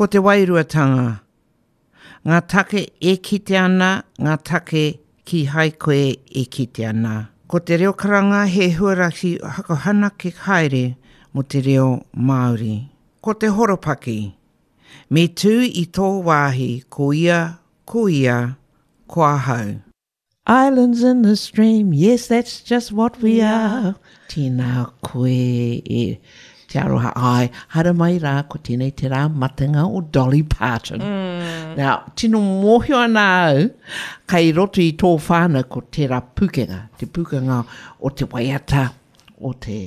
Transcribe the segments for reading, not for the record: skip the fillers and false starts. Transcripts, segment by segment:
Ko te wairuatanga. Ngā take e kite ana, ngā take kīhai koe e kite ana. Ko te reo karanga he huarahi whakahanake haere mō te reo Māori. Ko te horopaki. Me tū i tō wāhi ko ia, ko ia, ko ahau. Islands in the stream, yes that's just what we are. Tēnā koe e Te Aroha. Ai, haere mai rā, ko tēnei te rā matenga o Dolly Parton. Mm. Now, tino mōhio ana au, kei roto i tō whānau ko tērā pūkenga, te pūkenga o te waiata, o te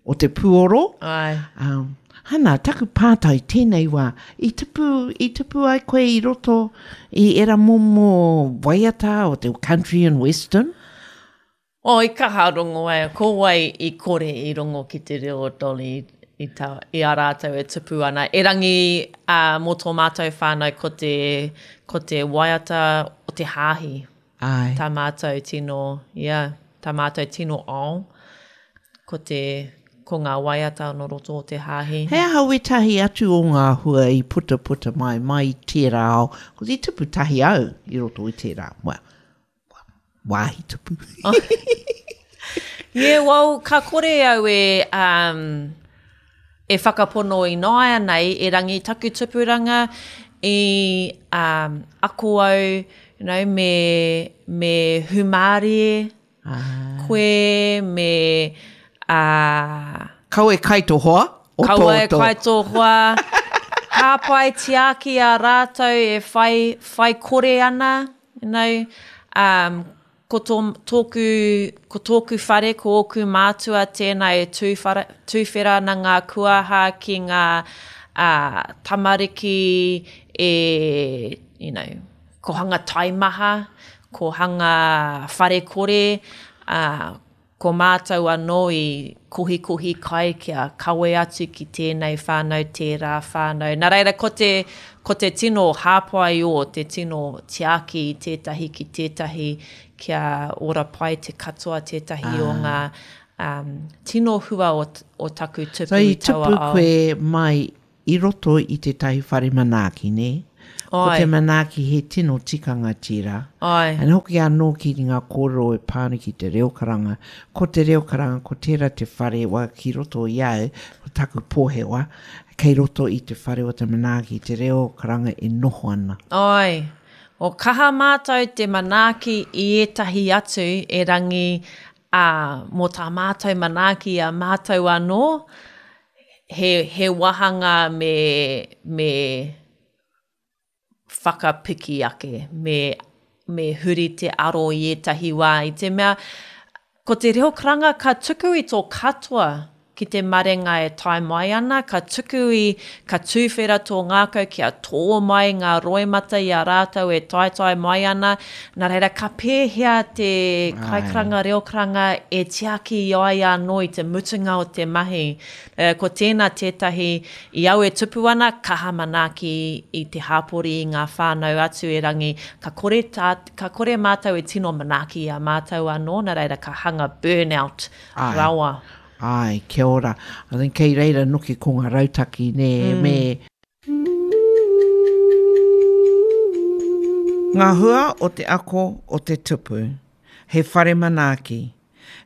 o te puoro. Ai. Um, hana, taku pātai tēnei wā, i tupu, i tupu ai koe i roto i era momo waiata o te country and western? Oh, i kaha rongo ai, ko wai i kore i rongo ki te reo o Dolly i, ta, i a rātou e tupu ana. Erangi uh, mō tō mātou whānau ko te, ko te waiata o te hāhi. Ai. Tā mātou tino, yeah, tā mātou tino ao. Ko te, ko ngā waiata nō roto o te hāhi. He aha wētahi atu o ngā hua i putaputa mai, mai i tērā ao? Ko te tupu tahi au i roto i tērā, well, wāhi tupu. Yeah, well, ka kore au e, um, e whakapono ināianei, erangi taku tupuranga i um, ako au, you know, me, me humārie, Koe me a. Kaua e kai tō hoa. O tō, Kaua e kai tō hoa. Hāpai tiaki a rātou e whai, whai kore ana, you know. Um, ko tō, tōku, ko tōku whare, ko ōku mātua tēnā e tūwhara, tūwhera ana ngā kuaha ki ngā uh, tamariki e, you know, Ko hanga taimaha, ko hanga whare kore, ā, ko mātou anō i kohikohi kai kia kawe atu ki tēnei whānau, tērā whānau. Nā reira, ko te, ko te tino hāpai o, te tino tiaki i tētahi ki tētahi kia ora pai te katoa tētahi o ngā um, tino hua o, o taku tupu so, i taua ao. So i tupu koe mai I roto i tētahi whare manaaki, nē? Ko te manaaki he tino tikanga tērā. Āe. And hoki anō ki ngā kōrero e pā ana ki te reo karanga. Ko te reo karanga, ko tērā te whare wa ki roto i au, ko taku pōhewa, kei roto i te whare o te manaaki, te reo karanga e noho ana. Āe. O kaha mātou te manaaki i ētahi atu erangi, ā, mō tā mātou manaaki i a mātou anō, he, he wāhanga me, me whakapiki ake, me, me huri te aro i ētahi wā, i te mea, ko te reo karanga ka tuku i tō katoa ki te marenga e tae mai ana, ka tuku i, ka tūwhera tō ngākau kia tō mai ngā roimata i a rātou e taetae mai ana, nā reira ka pēhea te kaikaranga reo karanga e tiaki i a ia anō i te mutunga o te mahi. Ko tēnā tētahi, i au e tupu ana, kaha manaaki i te hāpori, i ngā whānau atu erangi, ka kore tā, ka kore mātou e tino manaaki i a mātou anō, nā reira ka hanga burnout rawa. Āe, kia ora. I think kei reira noki ko ngā rautaki, nē, me. Ngā hua o te ako o te tupu. He whare manaaki.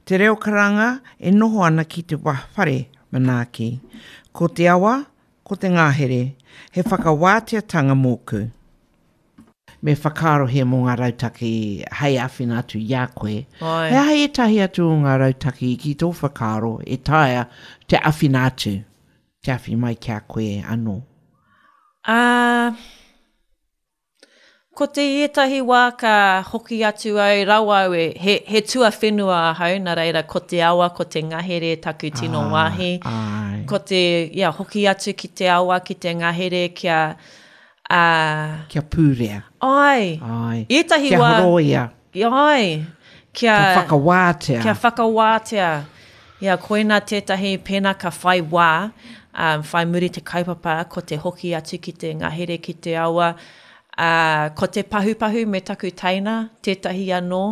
Te reo karanga e noho ana ki te whare manaaki. Ko te awa, ko te ngahere, he whakawāteatanga mōku. Me whakaarohia mō ngā rautaki hei āwhina atu i a koe. He aha ētahi atu o ngā rautaki ki tō whakaaro e taea te āwhina atu, te awhi mai ki a koe anō? Ā, Ko te ētahi wā ka hoki atu au, rawa au e, he, he tuawhenua ahau, nā reira ko te awa, ko te ngahere taku tino ah, wāhi. Ai. Ko te, ia, hoki atu ki te awa, ki te ngahere kia, uh, Kia pūrea. Ai. Ai. Ētahi kia wā. Kia horoia. Ai. Kia, kia whakawātea. Kia whakawātea. Ia, koina tētahi pēnā ka whai wā, um, whai muri te kaupapa, ko te hoki atu ki te ngahere, ki te awa, ā, ko te pahupahu me taku teina, tētahi anō.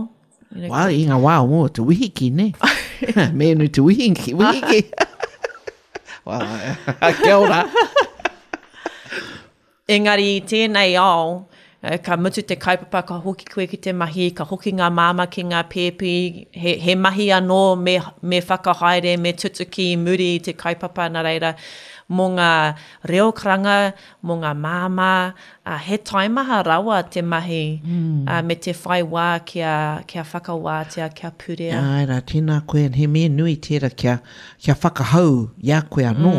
You know, well, i ngā wā o mua, te wihiki, ne? Mēnu te wihiki, wihiki. well, kia ora. Engari i tēnei ao, ka mutu te kaupapa, ka hoki koe ki te mahi, ka hoki ngā māmā ki ngā pēpi, he, he mahi anō me, me whakahaere, me tutuki i muri i te kaupapa, nā reira, mō ngā reo karanga, mō ngā māmā, ā, he taimaha rawa te mahi, ā, me te whai wā kia, kia whakawātea, kia purea. Āe rā, tēnā koe, he mea nui tērā kia, kia whakahau i a koe anō,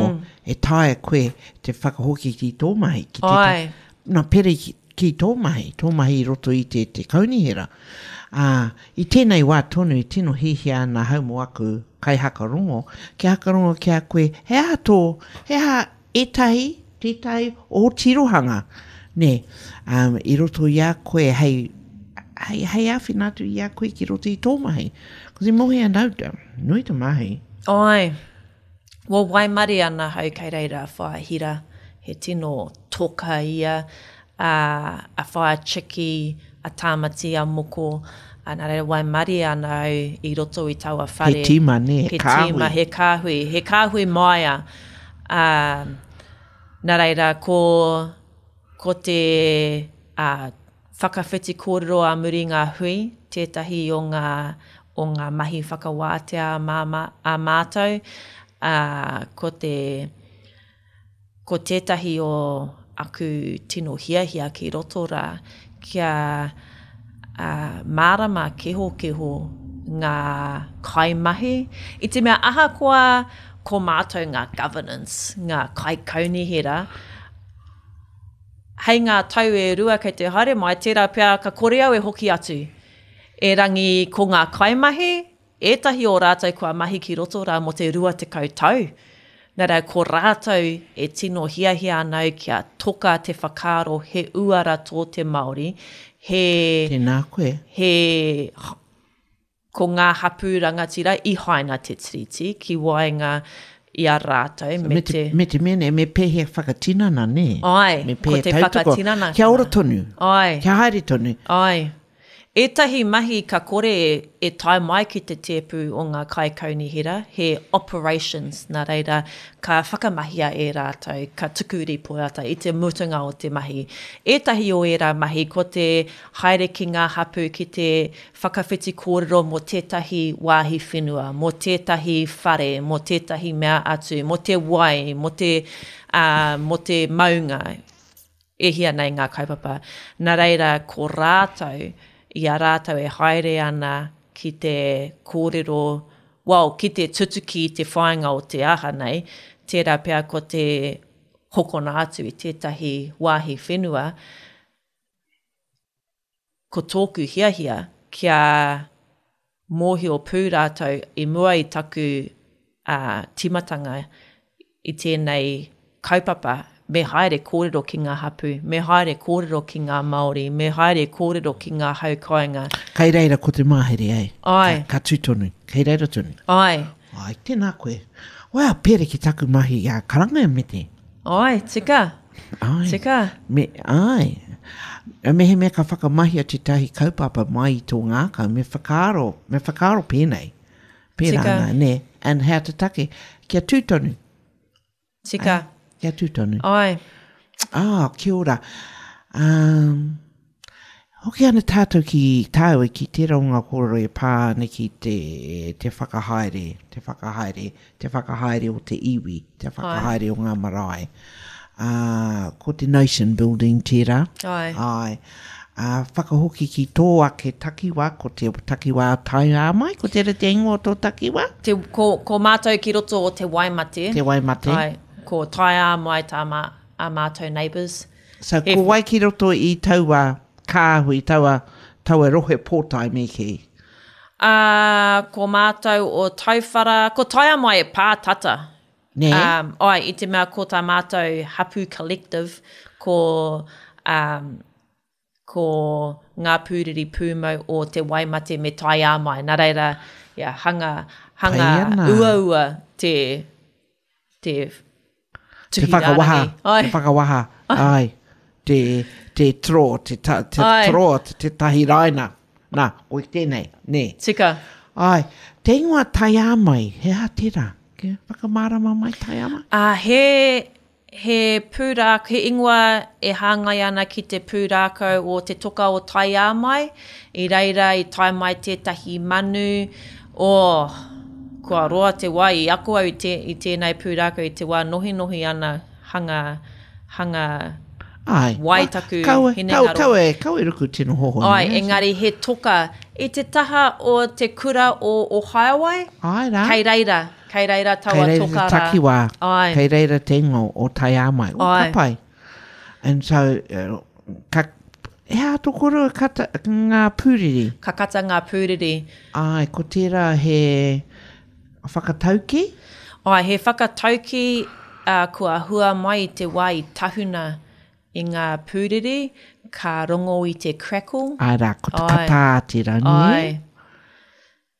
e taea koe te whakahoki ki tō mahi, ki te, Āe. nā, pere ki, ki tō mahi, tō mahi i roto i te, te kaunihera. Ā, i tēnei wā tonu e tino hiahia ana ahau mō aku kaihakarongo, kia hakarongo ki a koe, he aha tō, he aha ētahi, tētahi ō tirohanga, nē, um, i roto i a koe hei, hei, hei āwhina atu i a koe ki roto i tō mahi. Ko te mohi ana au, nui te mahi. Āe. Kua waimarie ana ahau kei reira a Whaea Hira, he tino toka ia, a, a Whaea Chiki, a Tāmati, a Moko, a, nā reira waimarie ana au i roto i taua whare. He tīma, nē, he kāhui. He tīma, he kāhui, he kāhui māia. Ā, nā reira, ko, ko te, ā, Whakawhiti kōrero ā muri ngā hui, tētahi o ngā, o ngā mahi whakawātea a māmā, a mātou, ā, ko te, ko tētahi o aku tino hiahia ki roto rā, kia, ā, mārama kehokeho ngā kaimahi, i te mea ahakoa ko mātou ngā governance, ngā kaikaunihera, Hei ngā tau e rua kei te haere mai, tērā pea ka kore au e hoki atu. Erangi ko ngā kaimahi, ētahi o rātou kua mahi ki roto rā mō te 20 tau. Nā reira, ko rātou e tino hiahia ana au kia toka te whakaaro he uara tō te Māori, he. Tēnā koe. He. Ko ngā hapū rangatira i haina te Tiriti ki waenga i a rātou me te. Me te mea nei, me pēhea whakatinana, nē? Āe, Me ko pēhea te tautoko. whakatinana. Kia ora tonu. Āe. Kia haere tonu. Āe. Ētahi mahi ka kore e tae mai ki te tēpu o ngā kaikaunihera, he operations, nā reira, ka whakamahia e rātou, ka tuku rīpoata i te mutunga o te mahi. Ētahi o ērā mahi ko te haere ki ngā hapū ki te Whakawhiti kōrero mō tētahi wāhi whenua, mō tētahi whare, mō tētahi mea atu, mō te wai, mō te, ā, mō te maunga. E hia nei ngā kaupapa. Nā reira, ko rātou, i a rātou e haere ana ki te kōrero, well, ki te tutuki i te whāinga o te aha nei, tērā pea ko te hokona atu i tētahi wāhi whenua, Ko tōku hiahia kia mōhio pū rātou i mua i taku tīmatanga i tēnei kaupapa, me haere kōrero ki ngā hapū, me haere kōrero ki ngā Māori, me haere kōrero ki ngā hau kāinga. Kei reira ko te mahere, eh? Āe. Ka, ka tū tonu. Kei reira tonu. Āe. Āe, tēnā koe. Wow, pēre ki taku mahi i a Karanga e Mete. Āe, tika. Āe. Tika. Me, āe. Mehemea ka whakamahia tētahi kaupapa mai i tō ngākau, me whakaaro, me whakaaro pēnei. Pērā Tika. ana, nē. And hea te take? Kia tū tonu. Tika. Ai, kia tū tonu. Ai. Ah, kia ora. Um, hoki ana tātou ki tāua ki tērā o ngā kōrero e pā ana ki te, te whakahaere, te whakahaere, te whakahaere o te iwi, te whakahaere o ngā marae. Ā, ko te nation building tērā. Ai. Ai. Ā, whakahoki ki tō ake takiwā, ko te takiwā Taiāmai, ko tērā te ingoa o tō takiwā? Te, ko, ko mātou ki roto o Te Waimate. Te Waimate. Ai, ko Taiāmai tā mā, ā mātou neighbours. So, ko wai ki roto i taua kāhui, taua, taua rohe pōtae me kī? Ā, ko mātou o Tauwhara, ko Taiāmai e pā tata. Nē? Um, ai, i te mea ko tā mātou hapū collective, ko, um, ko ngā pūriri pūmau o Te Waimate me Taiāmai. Nā reira, yeah, hanga, hanga uaua te, te tuhi te whakawaha, rārangi. Te whakawaha, ai, te, te tro, te, ta, te tro, te, te tahi raina. Nā, koi tēnei, nē. Tika. Ai, te ingoa Taiāmai, he aha tērā? Kia whakamārama mai Taiāmai? Ā, he. he pūrākau, he ingoa e hāngai ana ki te pūrākau o Te Toka o Taiāmai. I reira i tae mai tētahi manu, oh, kua roa te wā i ako au i, te, i tēnei pūrākau i te wā nohinohi ana hanga, hanga Ai, wai taku kaua, hinengaro. Kaua, kaua, kaua e ruku tino hohonu. Ai, engari he toka i te taha o te kura o Ohaeawai. Ai rā. Kei reira. Kei reira taua Kei reira toka te rā. takiwā. Ai. Kei reira te ingoa o Taiāmai. O, Ai. ka pai. And so, uh, ka, he aha tō koroua kata, ngā pūriri? Ka kata ngā pūriri. Ai, ko tērā he whakataukī? Ai, he whakataukī uh, kua hua mai i te wā i tahuna i ngā pūriri, ka rongo i te crackle. Ai rā, ko te Ai. kata tērā, nē? Ai.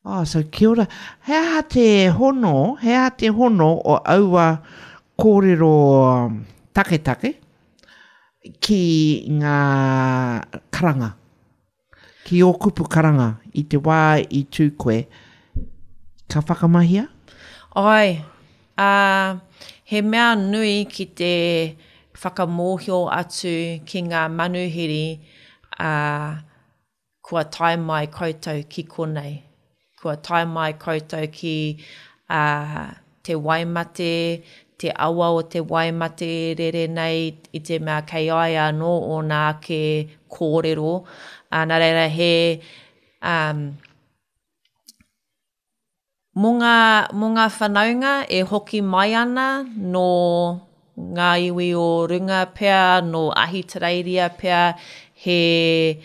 Oh, so kia ora. He aha te hono, he aha te hono o aua kōrero taketake ki ngā karanga, ki ō kupu karanga i te wā i tū koe, ka whakamahia? Āe, ā, he mea nui ki te whakamōhio atu ki ngā manuhiri, ā, Kua tae mai koutou ki konei. Kua tae mai koutou ki, ā, te Waimate, te awa o te Waimate e rere nei i te mea kei a ia anō ōna ake kōrero. Ā, nā reira he, ā, Mō ngā, mō ngā whanaunga e hoki mai ana nō ngā iwi o runga pea, nō Ahitereiria pea, he,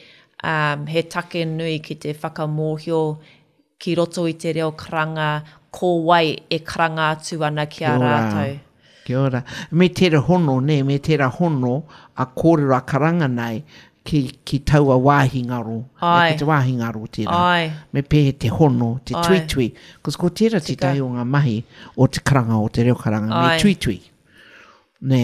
um, he take nui ki te whakamōhio ki roto i te reo karanga ko wai e karanga atu ana ki a rātou. Kia ora. Me tera hono, nē, me tera hono a kōrero a karanga nei ki, ki taua wāhi ngaro. Ae. Ko te wāhi ngaro tērā. Ae. Me pēhea te hono, te Ae. tuitui. Cos ko tērā Tika. tētahi o ngā mahi o te karanga, o te reo karanga, Ae. me tuitui. Nē.